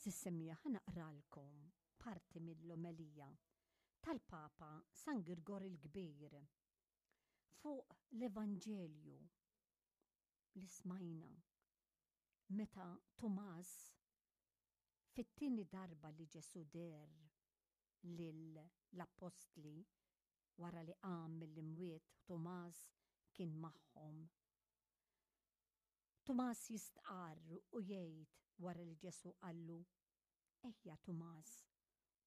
Għeżież semmiegħa ħa naqralkom parti mill-omelija tal-Papa San Girgor il-Kbir fuq l-Evanġelju li smajna meta Tumas fit-tieni darba li Ġesù deher lil l-appostli wara li qam mill-imwiet Tumas kien magħhom. Tumas jistqarr u jgħid wara li Ġesù qallu, Ejja Tumas,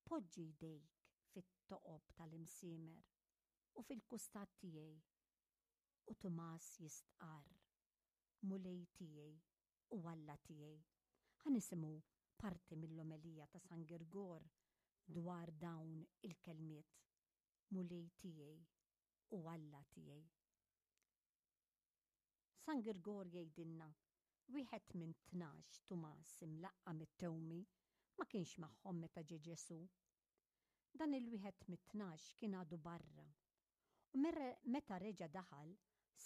poġġi jdejk fit-toqob tal-imsiemer u fil-kustat tiegħi. U Tumas jistqarr, Mulej tiegħi u Alla tiegħi. Ħa nisimgħu parti mill-omelija ta' San Girgor dwar dawn il-kelmiet, Mulej tiegħi u Alla tiegħi. San Girgor jgħidilna, Wieħed minn 12, Tumas, imlaqqam it-Tewmi, ma kienx magħhom meta ġie Ġesù. Dan il-wieħed mit-tnax kien għadu barra. U meta reġa' daħal,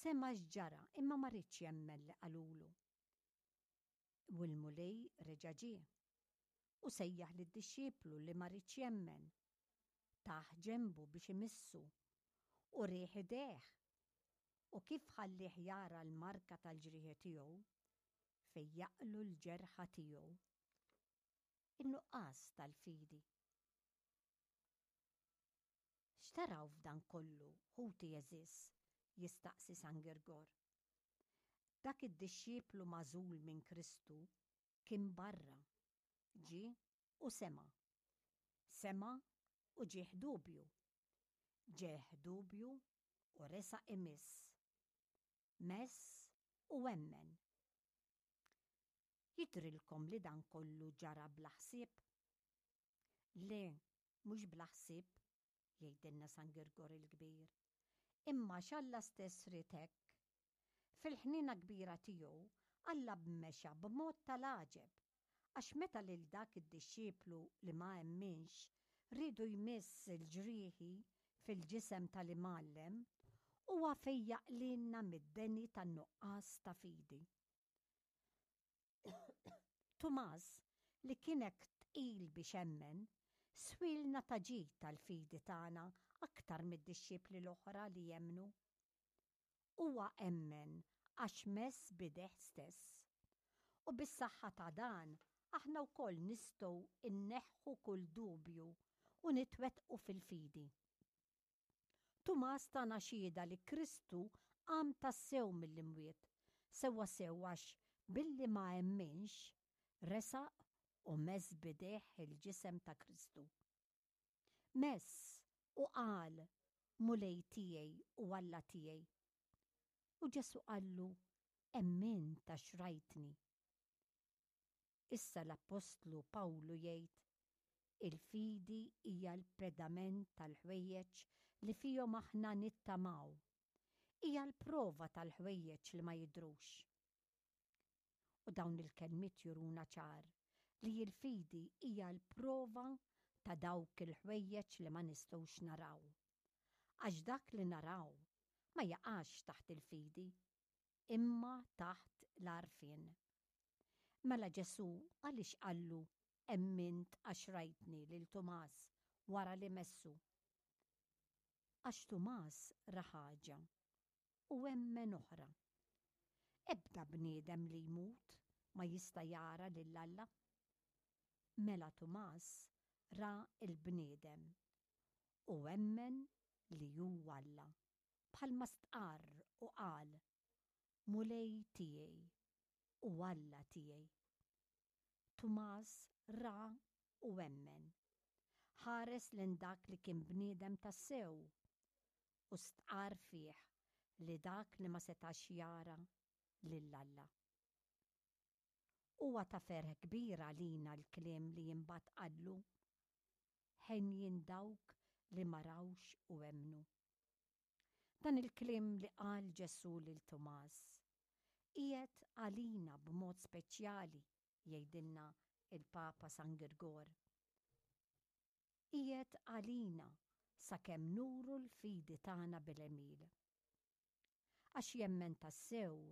sema' x'ġara imma ma riedx jemmen li qalulu. U l-Mulej reġa' ġie. U sejjaħ lid-dixxiplu li ma riedx jemmen. Tah ġenbu biex imissu. U rieh idejh. U kif ħallieh jara l-marka tal-ġrieħi tiegħu, fejjaqlu l-ġerħa tiegħu. In-nuqqas tal-fidi. X'taraw f'dan kollu, ħuti għeżież? jistaqsi San Girgor. Dak id-dixxiplu magħżul minn Kristu kien barra, ġie u sema'. Sema' u ġieh dubju. Ġieh dubju u resaq imiss. Mess u emmen. Jidhrilkom li dan kollu ġara bla ħsieb? Le, mhux bla ħsieb, jgħidilna San Girgor il-Kbir, imma għax Alla stess ried hekk. Fil-ħniena kbira tiegħu, Alla bmexa b'mod tal-għaġeb, għax meta lil dak id-dixxiplu li ma emminx riedu jmiss il-ġrieħi fil-ġisem tal-Imgħallem, huwa fejjaq lilna mid-deni tan-nuqqas ta' fidi. Tumas, li kien hekk tqil biex emmen, swielna ta' ġid għall-fidi tagħna aktar mid-dixxipli l-oħra li emmnu. Huwa emmen għax mess b'idejh stess. U bis-saħħa ta' dan aħna wkoll nistgħu nneħħu kull dubju u nitwettqu fil-fidi. Tumas tana xhieda li Kristu qam tassew mill-imwiet, sewwasew għax billi ma emminx, resaq u mess b'idejh il-ġisem ta' Kristu. Mess u qal, Mulej tiegħi u Alla tiegħi. U Ġesù qallu, Emmint għax rajtni. Issa l-appostlu Pawlu jgħid, Il-fidi hija l-pedament tal-ħwejjeġ li fihom aħna nittamaw. Hija l-prova tal-ħwejjeġ li ma jidhrux. U dawn il-kelmiet juruna ċar li l-fidi hija l-prova ta' dawk il-ħwejjeġ li ma nistgħux naraw. Għax dak li naraw ma jaqax taħt il-fidi, imma taħt l-għarfien. Mela Ġesù għaliex qallu emmint għax rajtni lil Tumas wara li messu? Għax Tumas ra ħaġa u emmen oħra. Ebda bniedem li jmut ma jista' jara lil Alla. Mela Tumas ra l-bniedem u emmen li hu Alla. Bħalma stqarr u qal, Mulej tiegħi u Alla tiegħi. Tumas ra u emmen. Ħares lejn dak li kien bniedem tassew u stqarr fih li dak li ma setax jara lil Alla. Huwa ta' ferħ kbir għalina l-kliem li imbagħad qallu, Henjin dawk li ma rawx u emmnu. Dan il-kliem li qal Ġesù lil Tumas, qiegħed għalina b'mod speċjali, jgħidilna l-Papa San Girgor. Qiegħed għalina sakemm nuru l-fidi tagħna bil-għemil. Għax jemmen tassew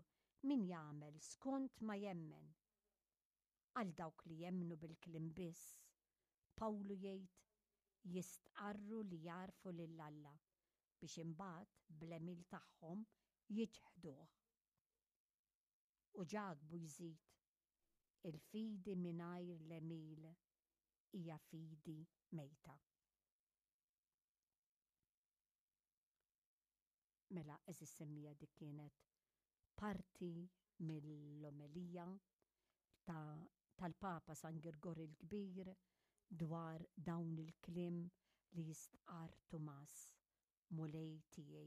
min jagħmel skont ma jemmen. Għal dawk li jemmnu bil-kliem biss, Pawlu jgħid, jistqarru li jagħrfu lil Alla, biex imbagħad bl-għemil tagħhom jiċħduh. U Ġakbu jżid, Il-fidi mingħajr l-għemil hija fidi mejta. Mela, għeżież semmiegħa dik kienet parti mill-omelija ta' tal-Papa San Girgor il-Kbir dwar dawn il-kliem li jistqarr Tumas, Mulej tiegħi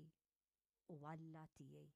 u Alla tiegħi.